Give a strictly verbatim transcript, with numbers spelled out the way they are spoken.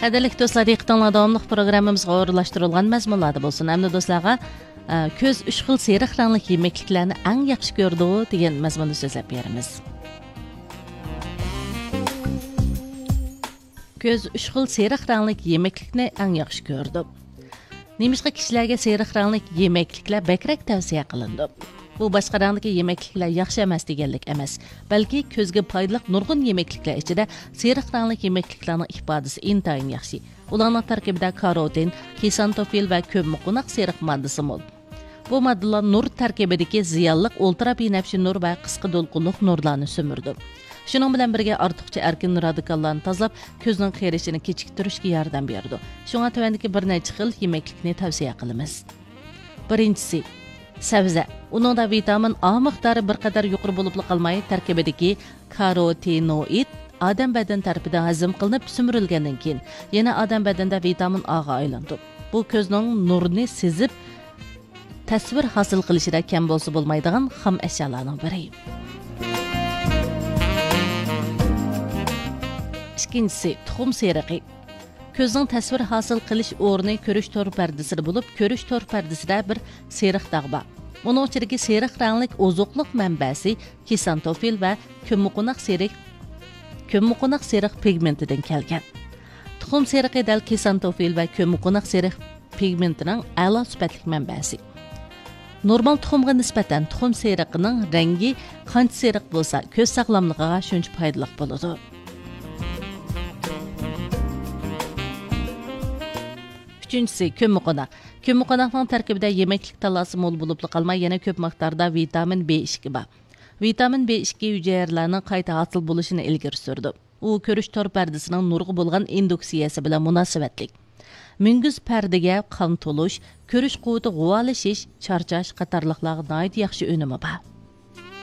قەدىرلىك دوستلار، دىققىتىڭلار داۋاملىق پروگراممىمىزغا ئورۇنلاشتۇرۇلغان مەزمۇنلاردا بولسۇن. ئەمدى دوستلارغا، ئە، كۆز ئۈچ خىل سېرىق رەڭلىك يېمەكلىكلەرنى ئەڭ ياخشى كۆرىدۇ دېگەن مەزمۇندا سۆزلەپ بېرىمىز. كۆز ئۈچ خىل سېرىق رەڭلىك يېمەكلىكنى ئەڭ ياخشى كۆرىدۇ. نېمىشقا كىشىلەرگە سېرىق رەڭلىك يېمەكلىكلەر بەكرەك تەۋسىيە قىلىنىدۇ؟ بۇ باشقا رەڭدىكى يېمەكلىكلەر ياخشى ئەمەس دېگەنلىك ئەمەس، بەلكى كۆزگە پايدىلىق نۇرغۇن يېمەكلىكلەر ئىچىدە سېرىق رەڭلىك يېمەكلىكلەرنىڭ ئىپادىسى ئىنتايىن ياخشى. ئۇلارنىڭ تەركىبىدە كاروتىن، كسانتوفىل ۋە كۆممىقوناق سېرىق ماددىسى مول. بۇ ماددىلار نۇر تەركىبىدىكى زىيانلىق ئۇلترا بىنەپشە نۇر ۋە قىسقا دولقۇنلۇق نۇرلارنى سۈمۈرىدۇ. شۇنىڭ بىلەن بىرگە، ئارتۇقچە ئەركىن رادىكاللارنى تازىلاپ، كۆزنىڭ قېرىشىنى كېچىكتۈرۈشكە ياردەم بېرىدۇ. شۇڭا تۆۋەندىكى بىر نەچچە خىل يېمەكلىكنى تەۋسىيە قىلىمىز. بىرىنچىسى، سەۋزە. ئۇنىڭدا ۋىتامىن ئا مىقدارى بىر قەدەر يۇقىرى بولۇپلا قالماي، تەركىبىدىكى كاروتىنوئىد ئادەم بەدىنى تەرىپىدىن ھەزىم قىلىنىپ سۈمۈرۈلگەندىن كېيىن، يەنە ئادەم بەدىنىدە ۋىتامىن ئاغا ئايلىنىدۇ. بۇ كۆزنىڭ نۇرنى سېزىپ، تەسۋىر ھاسىل قىلىشىدا كەم بولسا بولمايدىغان خام ئەشيالارنىڭ بىرى. ئىككىنچىسى، تۇخۇم سېرىقى. كۆزنىڭ تەسۋىر ھاسىل قىلىش ئورنى كۆرۈش تور پەردىسىدە بولۇپ، كۆرۈش تور پەردىسىدە بىر سېرىق داغ بار. ئۇنىڭ ئىچىدىكى سېرىق رەڭلىك ئوزۇقلۇق مەنبەسى كسانتوفىل ۋە كۆممىقوناق سېرىق، كۆممىقوناق سېرىق پىگمېنتىدىن كەلگەن. تۇخۇم سېرىقى دەل كسانتوفىل ۋە كۆممىقوناق سېرىق پىگمېنتىنىڭ ئەلا سۈپەتلىك مەنبەسى. نورمال تۇخۇمغا نىسبەتەن تۇخۇم سېرىقىنىڭ رەڭگى قانچە سېرىق بولسا، كۆز ساغلاملىقىغا شۇنچە پايدىلىق بولىدۇ. ئۈچىنچىسى، كۆممىقوناق. كۆممىقوناقنىڭ تەركىبىدە يېمەكلىك تاللاسى مول بولۇپلا قالماي، يەنە كۆپ مىقداردا ۋىتامىن بى ئىككى بار. ۋىتامىن بى ئىككى ھۈجەيرىلەرنىڭ قايتا ھاسىل بولۇشىنى ئىلگىرى سۈرىدۇ. ئۇ كۆرۈش تور پەردىسىنىڭ نۇرغا بولغان ئىندۇكسىيەسى بىلەن مۇناسىۋەتلىك. مۈڭگۈز پەردىگە قان تولۇش، كۆرۈش قۇۋۋىتى غۇۋالىشىش، چارچاش قاتارلىقلارغا ناھايىتى ياخشى ئۈنۈمى بار.